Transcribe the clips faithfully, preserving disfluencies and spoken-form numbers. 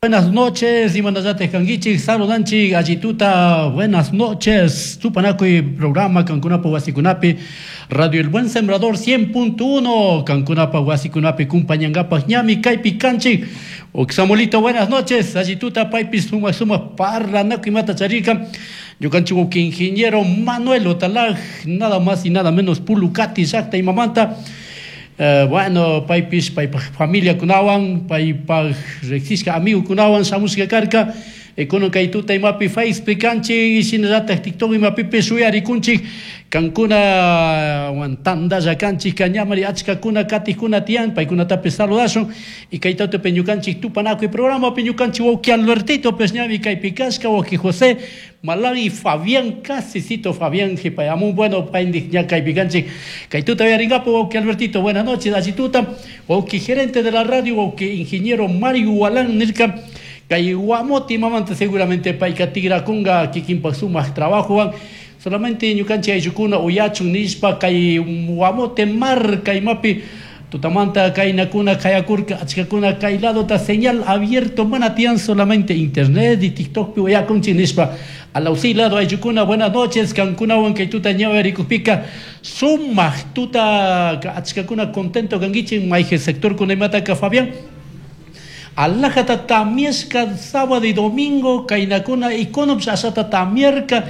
Buenas noches, imanallate kankichik, saludanchik, allituta, buenas noches. Tupanakuy programa kankunapa wasikunapi, Radio El Buen Sembrador cien punto uno, kankunapa wasikunapi, kumpañangapaj ñami, kaypi kanchik. Samuelito, buenas noches, allituta, paypis suma suma parlanakuy mata charika. Ñukanchik wawqi ingeniero Manuel Otalaj, nada más y nada menos Pulucati, llaqta imamanta. Eh, bueno, paypis, paypaj familia kunawan, paypaj riqsishka amigo kunawan shamushka karka. Kunan kay tuta imapi Facebook kanchik, shinallatak TikTok imapipish uyarikunchik. Kankuna wan tandalla kanchik, kañamari achkakuna katikuna tiyan, paykunatapis saludashun. Y kay tutapi ñukanchik tupanakuy programapi ñukanchik wawqi Albertito pues ñami kaypi kashka, wawqi José Malawi, Fabián, casicito Fabián, jipayamun, bueno, payndi ña kaypi kanchik. Kay tuta uyarinkapu, wawqi Albertito, buenas noches, allituta. Wawqi gerente de la radio, wawqi ingeniero Mario Walán nirka. Kay Guamoti mamanta seguramente payka tigrakunga kikinpak sumaq trabajowan. Solamente ñukanchik ayllukuna uyachun nishpa kay Guamote marka imapi tutamanta kaynakuna kayakurka achkakuna kay ladota señal abierto mana tiyan solamente internet y TikTokpi uyakunchik nishpa. Alausi lado ayllukuna, buenas noches, kankunawan kay tuta ñawirikukpika sumaq tuta achkakuna contento kankichik mayje sector kunaymantaka Fabián. Alajata tamiesca sábado y domingo, kainakuna y konops asata tamierka,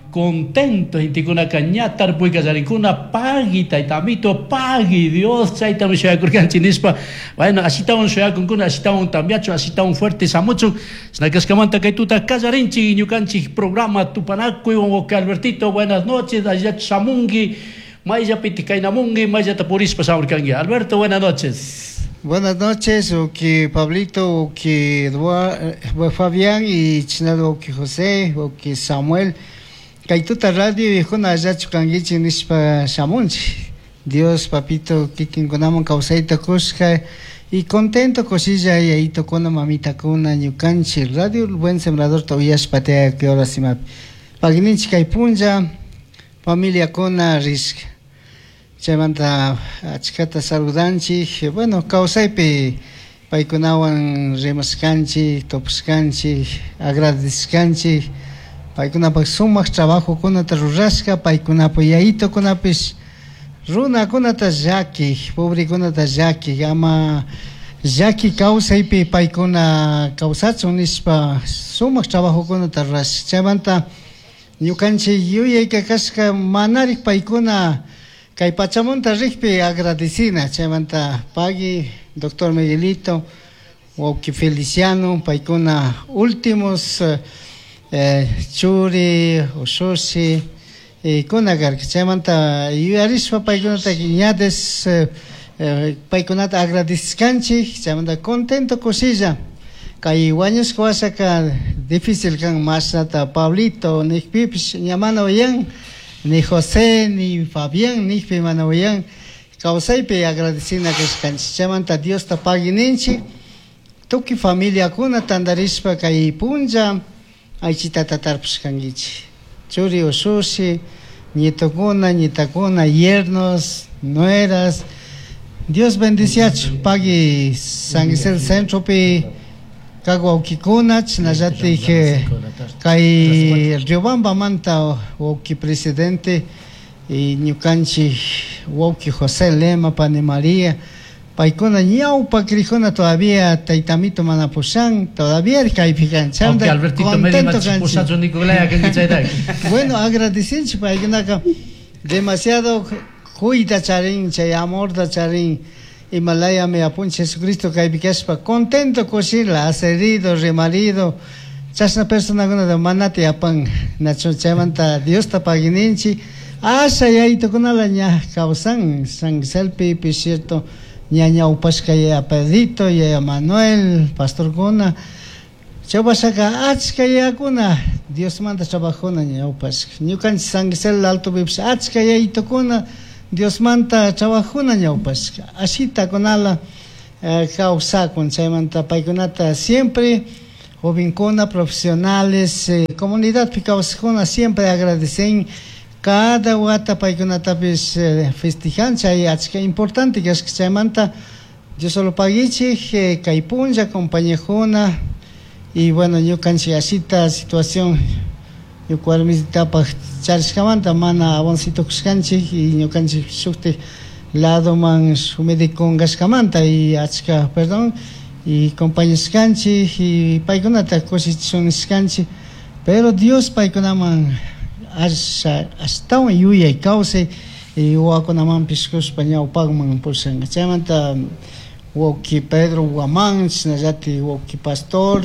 contento, intikuna kañatar, puika yarikuna, pagui, taitamito, pagui, Dios, chaytami shuyakurkanchik nishpa. Bueno, ashitawan shuyakunkuna, ashitawan tambiacho, ashitawan fuerte samucho. Snakaskamanta kay tuta kallarinchik, ñukanchik programa Tupanakuy, wawqi Albertito, buenas noches, allá shamungi, mayllapiti kaynamungi, mayllata purispa shamurkanki. Alberto, buenas noches. Buenas noches, oki Pablito, oki Eduardo, Fabián y Chinalo, oki José, oki Samuel. Kaytuta radio y juna allachu kankichik nishpa shamunchik. Dios, papito, kikinkunaman kawsayta kushka y contento kushilla yayitokuna, mamitakuna, ñukanchik radio El Buen Sembrador uyashpa tiyaka kay horas imapi. Pagninchik kay punlla, familiakuna rishka. Chaymanta achkata saludanchik, bueno, kawsaypi paykunawan rimashkanchik, tupashkanchik, agradecishkanchik, paykunapak sumaq trabajokunata rurashka, paykunapak yayitokunapish runakunata llakik, pobrekunata llakik, ama llaki kawsaypi paykuna kawsachun nishpa sumaq trabajokunata rurashka. Chaymanta ñukanchik yuyayka kashka manarik paykuna kay pachamunta rikpi agradecina. Chaymanta pagui doctor Miguelito, wawqi Feliciano, paykuna últimos eh, churi, ushushi, eh, kuna karka. Chaymanta yuyarishpa paykunata ñades eh, paykunata agradecishkanchik. Chaymanta contento kushilla. Kay wañushka washaka difícil kan mashnata Pablito nikpipish ña mana uyan, ni José, ni Fabián, nikpi mana uyan. Kawsaypi agradecina kashkanchik. Chaymanta Diosta paguininchik. Tukuy familiakuna tantarishpa kay punlla aychitata tarpushkankichik. Churi ushushi, nietokuna, nietakuna, yernos, nueras. Dios bendiciachu. Pagui San Gisel Centropi kak wawqikuna, chinallatik kay Riobambamanta wawqi presidente y ñukanchik wawqi José Lema, Pani María, paykuna ñawpa krijuna todavía taytamito mana pushan, todavía kaypi kan. Wawqi Albertito contento kanchik. Pushachu Nicolaya kanki chayta. Bueno, agradecinchik paykunaka demasiado kuyta charin, chay amorta charin. Himalaya me apunche Jesucristo kaypi kashpa contento kushila, herido, remarido. Chashna personakuna manati apan nacho chaymanta Diosta paguininchik. Asha yayitokunala ña kawsan San Giselpi, cierto, ña ñawpashka yaya Pedrito, yaya Manuel, pastorkuna. Chawpashaka achka yayakuna Diosmanta trabajuna ñawpashka. Ñukanchik San Gisel Alto pipish achka yayitokuna Diosmanta trabajuna ñawpashka. Ashita kunala eh, kawsakun. Chaymanta paykunata siempre jovencuna, profesionales, eh, comunidad kawsakuna siempre agradecen cada wata paykunatapis eh, festejan. Chay achka importante kashka. Chaymanta Dios solo paguichik, eh, kay punlla compañejuna Y bueno, ñukanchik asita situación ñuka warmitapaj charishkamanta mana avancito kushkanchik y ñukanchik shuktik ladoman shuk médico kashkamanta y achka perdón y compañashkanchik y paykunata kushichunishkanchik, pero Dios paykunaman asha ashtawan yuyay kawsay y wawakunamanpish kushpa ñawpakman pushanka. Chaymanta wawki Pedro Guamán, chashnallati wawki Pastor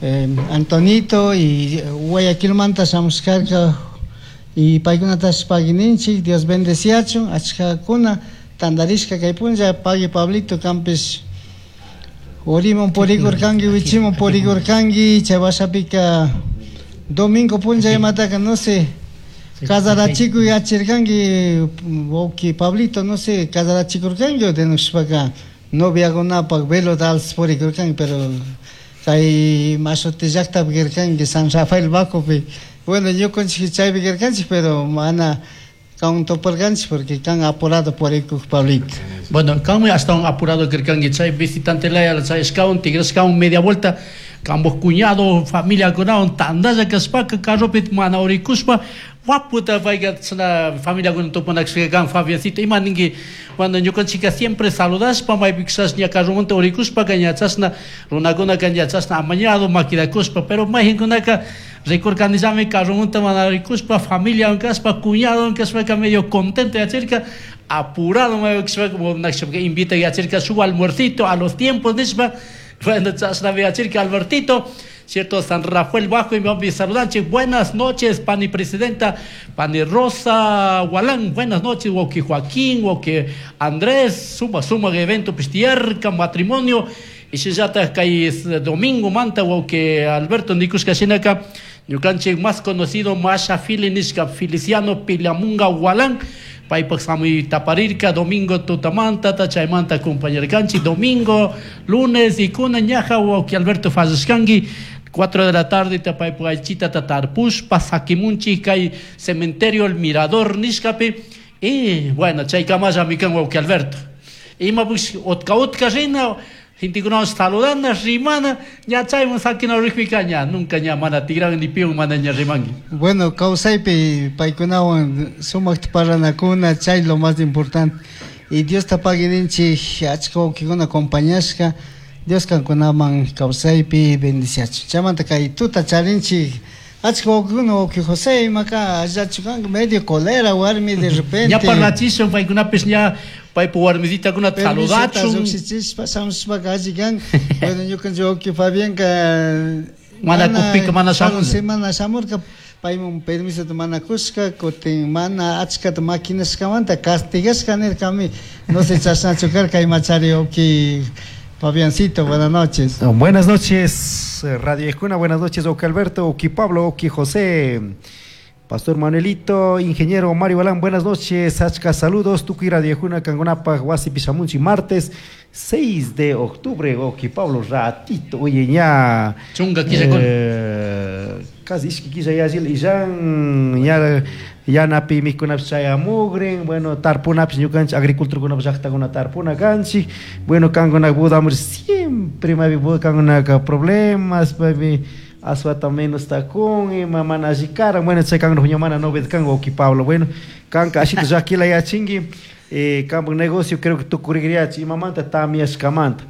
eh, Antonito y Guayaquilmanta shamushkarka y paykunatash paguininchik, Dios bendeciachun, achkakuna tantarishka kay punlla, pagui Pablito kanpish uriman purikurkanki, wichiman purikurkanki, chay washapika domingo punlla imataka no sé, casarachikuy yachirkanki wawki Pablito, no sé, casarachikurkanki o denushpaka noviakunapak velota alzas purikurkanki, pero kay mashuti llaktapi kirkanki San Rafael Bajopi. Bueno, ñukanchik chaypi kirkanchik, pero mana kan toparkanchik porque kan apurado purikuk Pablito. Bueno, kanmi ashtawan apurado kirkanki chay visitante laya chayashkawan tigrashkawan media vuelta kamboj cuñado familiakunawan tantalla kashpaka carropi mana urikushpa waputa payka chashna familiakuna tupanakshka kan. Fabiancito, ima ninki? Cuando ñukanchika siempre saludashpa maypi kishash ña carromanta urikushpaka ña chashna runakunaka ña chashna amañado maquirakushpa, pero mayjinkunaka rikurkanillami carromanta mana urikushpa familiawan kashpa cuñadowan kashpaka medio contento yachirka apurado maypi kashpaka invita yachirka shuk almuercito a los tiempos nishpa. Bueno, chashna yachirka Albertito, cierto, San Rafael Bajo, y me saludanche. Buenas noches, pani presidenta, pani Rosa Gualán, buenas noches, Woki Joaquín, Woki Andrés, suma, suma evento pistierca, matrimonio, y si ya está kay domingo manta, Woki Alberto Nikushka shinaka, ñukanchik más conocido, Masha Filinishka, Feliciano Pilamunga Gualán, paypak samuy taparirka domingo tutamanta ta chaymanta compañerkanchik domingo, lunes y kuna ñaja wawki Alberto fallashkanki cuatro de la tarde paypak aychita tatarpushpa sakimunchik kay cementerio El Mirador nishkapi. Y bueno, chaykamallami kan wawki Alberto. Ima pues utka utka rina gentekunawan saludana rimana ña chayman sakina rikpika ña nunca ña mana tigran ni piun mana ña rimanki. Bueno, kawsaypi paykunawan sumakta parlanakuna, chay lo más importante. Y Dios ta paguininchik achka wawkikuna acompañashka, Dios kankunaman kawsaypi bendiciachun. Chaymanta kay tuta charinchik achka wawkikuna, wawki José imaka allachu kanka medio colera warmi de repente. Ña parlachishun paykunapis ña paypa warmisitakuna saludachun. Lluqshichishpa shamushpaka alli kan. Bueno, ñukanchik wawki Fabianka mana kukpika mana shamun. Semana shamurka payman permisota mana kushka, kutin mana achkata maquinashkamanta castigashka nirkami. No sé chashnachu karka imachari wawki Fabiancito, buenas noches. No, buenas noches, Radio Ejuna, buenas noches, Oki Alberto, Oki Pablo, Oki José, Pastor Manuelito, Ingeniero Mario Balán, buenas noches, achka saludos, tukuy Radio Ejuna, Kangunapa, Huasi Pisamunchi, martes seis de octubre, Oki Pablo, ratito, oye, ña. Chunga killa eh, casi ishki killa yallil, illan, ña, yanapi mikunapis chayamugrin, bueno, tarpunapis ñukanchik agriculturkunapis llaqtakuna tarpuna kanchik, bueno, kankuna budamur siempre maypi kankunaka problemas, maypi aswata menos takun, ima mana alli karan, bueno, chay kankuna huña mana novedad kan, wawki Pablo, bueno, kanka ashita llakila yachinki, eh, kanpak negocio creo que tukurigriachi, imamanta tamiashkamanta.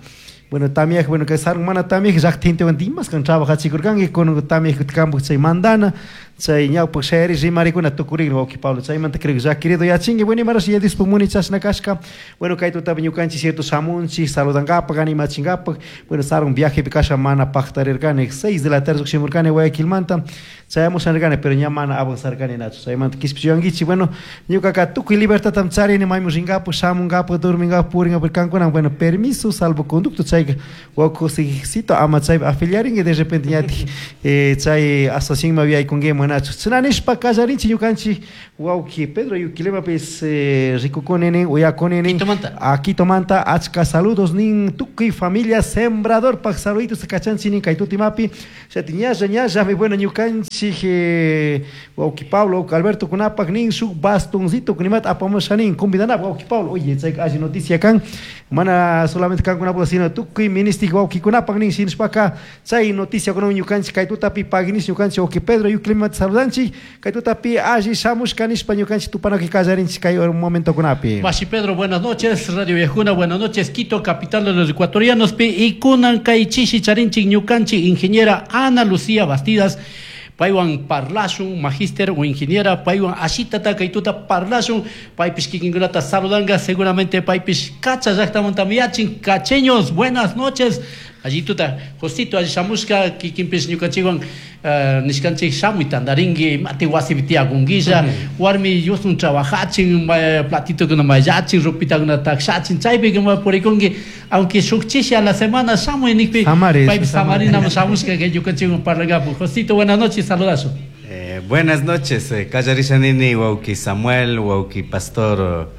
Bueno, tamiaj, bueno, que sarun mana tamiaj, llaqta gentewan dimas kan trabajachikurkanki, kun tamiaj kanpak chay mandana, chay ñawpak shayari rimarikuna tukurigrin, wawki Pablo, chaymanta creo que llakirido yachinki, bueno, imarash yadispa muni chashna kashka, bueno, kay tutapi ñukanchik cierto shamunchik, saludankapak, animachinkapak, bueno, sarun viajepi kasha mana paqtarirkani, seis de la tarde lluqshimurkani Guayaquilmanta, chayamushanirkani, pero ña mana avanzarkani nachu, chaymanta kishpichiwankichik, bueno, ñukaka tukuy libertadtam charini, mayman rinkapak, shamunkapak, durminkapak, purinkapak, kankuna, bueno, permiso, salvoconducto, chayka wawki Josecito ama chaypi afiliarinki, de repente ñatik eh, chay asociación yaykunki manachu, chinanishpa kallarinchik ñukanchik wawki Pedro Yuquilemapis eh, rikukuni nin, uyakuni nin, Quitomanta. A Quitomanta, achka saludos nin, tukuy familia sembradorpak saluditos kachanchik nin kay tutimapi, chati ñalla ñallami, bueno, ñukanchik eh, wawki Pablo, wawki Alberto kunapak nin, shuk bastoncito kunimata apamusha nin, convidanapaq wawki Pablo, oye, chayka alli noticia kan, mana solamente kankunapaq sino tukuy Tukuy ministik wawkikunapak nin shinashpaka chay noticiakunawan ñukanchik kay tutapi paginish ñukanchik wawki Pedro Yuclimata saludanchik kay tutapi alli shamushka nishpa ñukanchik tupanakuy kallarinchik kay momentokunapi. Mashi Pedro, buenas noches. Radio Viajuna, buenas noches. Quito, capital de los ecuatorianos. Pi y kunan kay chishi charinchik ñukanchik ingeniera Ana Lucía Bastidas. Paywan parlashun, magíster o ingeniera, paywan ashitata kaytuta parlashun, paypish kikinkunata saludanga, seguramente paypish cacha llaqtamanta miyachin, cacheños, buenas noches. Allí tuta, Josito, allí shamushka, kikinpish ñukanchikwan uh, nishkanchik shamuy tandarinki, mati wasipi tiyakunguilla, warmi yusun trabajachin, platitukuna mayllachin, ropitakuna takshachin, chaypi kuma purikunki, aunque shuk chishi a la semana shamuy nikpi, paypish samarinamun shamushka kay ñukanchikwan parlagapu. Josito, buenas noches, saludazo. Eh, buenas noches, eh, Kallarishanini, wawki Samuel, wawki Pastor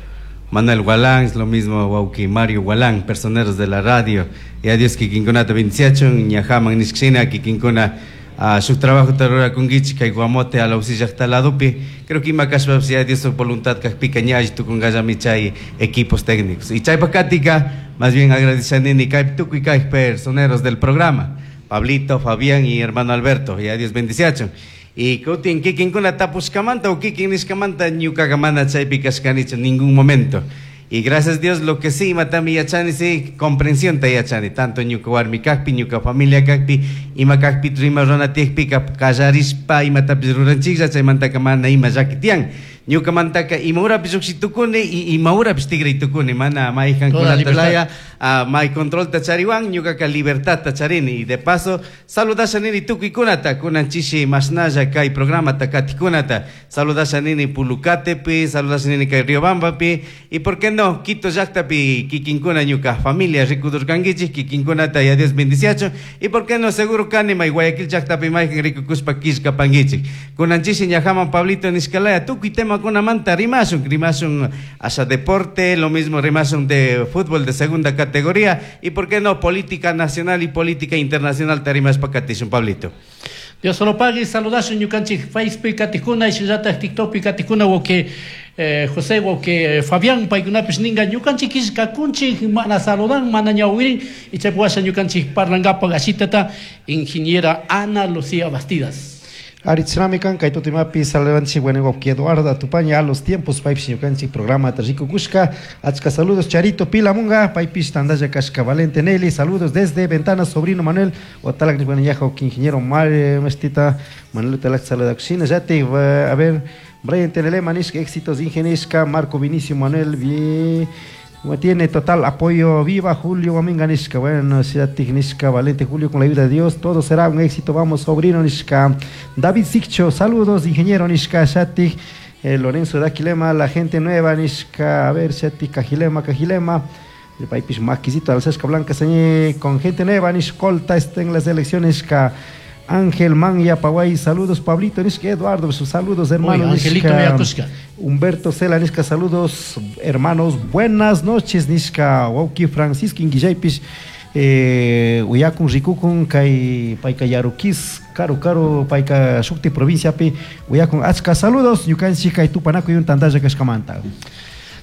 Manuel Gualán, es lo mismo wawki Mario Gualán, personeros de la radio. Y a Dios kikinkunata bendiciachun, ñajaman nishkshina kikinkuna uh, shuk trabajo rurakunkichik kay Guamote a la llaqta ladopi. Creo que ima kashpapish ya Dios voluntad kajpika ña alli tukunkallami chay equipos técnicos. Y chaypa katika, más bien agradechanini kay tukuy kay personeros del programa, Pablito, Fabián y hermano Alberto. Y a Dios bendiciachun. Y kutin kikinkuna tapushkamanta o kikin nishkamanta ñukaqa mana chaypi kashkanichu ningún momento. Y gracias a Dios lo que sí, matami yachani, sí, comprensión ta yachani, tanto ñuka warmi kajpi, ñuka familia kajpi, ima kajpi rima runa tiyakpi, kallarishpa imatapish ruranchiklla, chaymantaka mana ima llaki tiyan. Ñuka mantaka ima urapish lluqshi tukuni y ima urapish tigray tukuni, mana mayjankunata laya, uh, may controlta chariwan, ñukaka libertadta charini. Y de paso, saludasha nini tukuykunata, kunan chishi mashnalla kay programata katikunata, saludasha nini Pulucatepi, saludasha nini kay Riobambapi, y por qué no, Quito llaqtapi kikinkuna ñuka familia rikudurkankichik, kikinkunata ya Dios bendiciacho, y por qué no, seguro kani may Guayaquil llaqtapi mayjan rikukushpa killkapankichik. Kunan chishi ñajaman Pablito nishkalaya, tukuy tema kunamanta rimashun, rimashun hacia deporte, lo mismo rimashun de fútbol de segunda categoría, y por qué no, política nacional y política internacional te rimashpa katishun, Pablito. Dios solo pague, saludashun ñukanchik Facebook katikuna, shinallatak TikTok katikuna, wawki eh, José, wawki Fabián, paykunapish ninga ñukanchik killkakunchik, mana saludan, mana ñawirin, y chaypi washa ñukanchik parlangapak ashitata, ingeniera Ana Lucía Bastidas. Aritznami kan kay tutimapi saludanchik bueno wawki Eduardo Atupaña a los tiempos paypish ñukanchik programa rikukushka, achka saludos Charito Pilamunga, paypish tandalla kashka Valente Nelly, saludos desde Ventana, sobrino Manuel, otalak bueno yaja wawki ingeniero Mario Mestita, Manuel Otalak saludakushina, yati, a ver, Brian Tenelema nishka éxitos ingenishka, Marco Vinicio Manuel, bien. Tiene total apoyo, viva Julio Guaminga nishka, bueno, nishka, Valente Julio, con la ayuda de Dios, todo será un éxito, vamos, sobrino nishka, David Siccho, saludos, ingeniero nishka, Shatik, eh, Lorenzo Daquilema, la gente nueva nishka, a ver, Shatik, Cajilema, Cajilema, el país maquisito, Alcesca Blanca, señe, con gente nueva, nishkolta, está en las elecciones, nishka, Ángel Manya Paguay, saludos Pablito, nishka Eduardo, saludos hermano, Angelito nishka, Humberto Cela, nishka, saludos hermanos, buenas noches, nishka, wawki Francisco Inguillaypish, eh, uyakun rikukun kay payka Yarukis, karu karu payka shukti provinciapi, uyakun achka saludos, ñukanchik kay tupanakuy tantalla kashkamanta.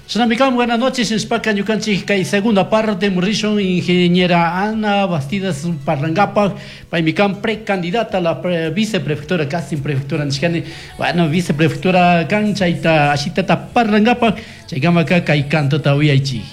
Shanamikam, buenas noches, Nishpaka ñukanchik kay segunda parte, murrishun ingeniera Ana Bastidas Parlangapak, paymikam precandidata a la pre, viceprefectura, casi prefectura nishkani, bueno, viceprefectura kan chayta ashitata Parlangapak, chaykamaka kay cantota uyaychik.